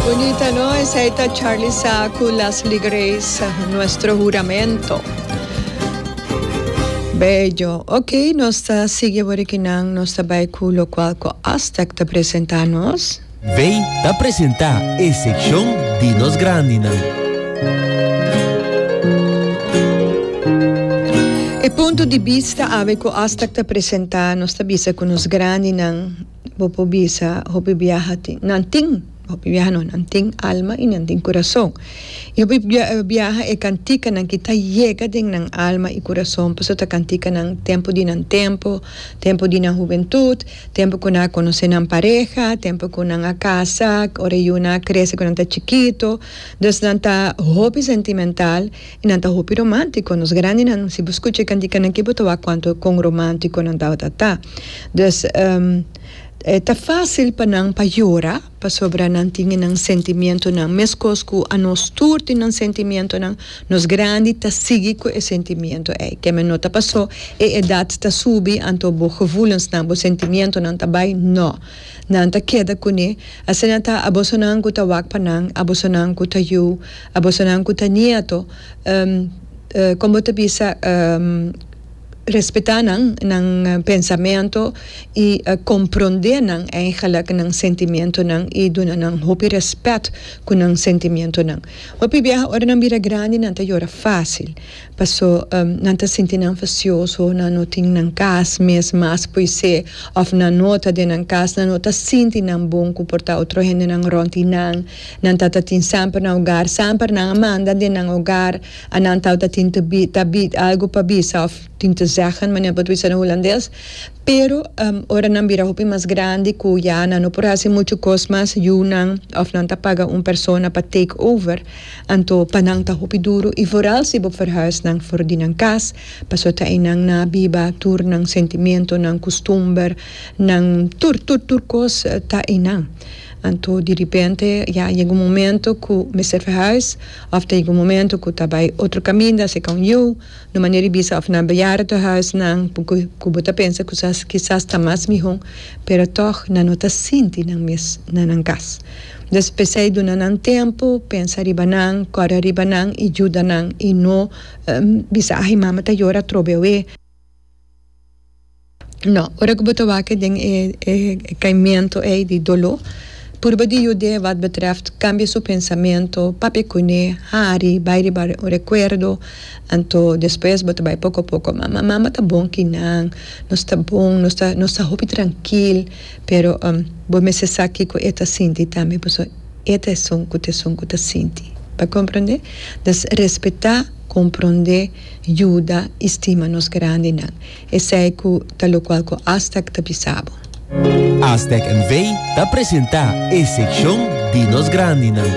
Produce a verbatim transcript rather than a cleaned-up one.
Bunita, no? Esey ta Charlie Sa cu Leslie Grace, "Nuestro Juramento". Bello. Ok, nos ta sigui awor aki nan, nos ta bay cu locual cu Astec ta presenta nos. Vei ta presenta e seccion di nos grandinan. E punto di bista awe cu Astec ta presenta, nos ta bisa cu nos grandinan, bo por bisa, hopi biaha tin, nan tin, hopi biaha no, nan tin alma y nan tin curason. Y hopi biaha e canticanan ki ta yega den nan alma y curason, pasobra ta canticanan tempo di nan tempo, tempo di nan hubentud, tempo cu nan a conoce nan pareha, tempo cu nan a casa, ora e yunan a crece cu nan ta chikito. Dus nan ta hopi sentimental y nan ta hopi romantico. Nos grandinan, si bo scucha e canticanan aki bo ta wak cuanto con romantico nan tabata ta. Dus e ta facil pa nan pa yora, pasobra nan tin e nan sentimientonan mescos cu anos tur tin nan sentimientonan, nos grandi ta sigui cu e sentimiento ey. Keme no ta paso e edad ta subi anto bo gevoelensnan, bo sentimientonan ta bay, no. Nan ta keda cune. Asina ta abosonan cu ta wak pa nan, abosonan cu ta yu, abosonan cu ta nieto, con bo ta bisa, respeta nan, nan pensamento y comprende nan eigenlijk nan sentimientonan y duna nan hopi respet cu nan sentimientonan. Hopi biaha ora nan bira grandi nan ta yora facil, paso nan ta sinti nan facioso, nan no tin nan cas mes mas poise of nan no ta den nan cas, nan no ta sinti nan bon cu por ta otro hendenan rond di nan, nan ta ta tin semper nan hogar, semper nan a manda den nan hogar, a nan ta tin te bi ta bi algo pa bisa of tin te zeggen, manera bo ta bisa na hulandes, pero ora nan bira hopi mas grandi cu ya nan no por haci mucho cos mas, yunan of nan ta paga un persona pa take over, anto pa nan ta hopi duro y vooral si bo verhuis nan for di nan cas, pasobra ta eynan nan a biba tur nan sentimiento, nan custumber, nan tur tur tur cos ta eynan. Anto di ripente ya yega un momento cu mester verhuis of ta yega un momento cu ta bay otro caminda seca un yu, no manera di bisa of na bejaardentehuisnan cu bo ta pensa cu kisas ta mas miho, pero tog nan no ta sinti nan mes na nan cas. Dus p'esey duna nan tempo, pensa riba nan, corre riba nan y yuda nan y no bisa ay mama ta yora atrobe awe. No, ora ku bo ta wak den e e kaimento ei di doló, purba di yud'é wat betreft kambia su pensamentu, papia kuné, hari, bai riba un rekuerdo, anto despues bo ta bai poko poko, mama, mama ta bon kinan, nos ta bon, nos ta nos ta hopi trankil, pero bo mester sa kiko e ta sinti tambe, pasobra e ta esun ku ta esun ku ta sinti. Bo a komprondé? Dus respetá, komprondé, yuda i stima nos grandinan. Esei ku ta lokual ku Astec ta bisa bo. Astec N V ta presentá e sekshon di nos grandinan.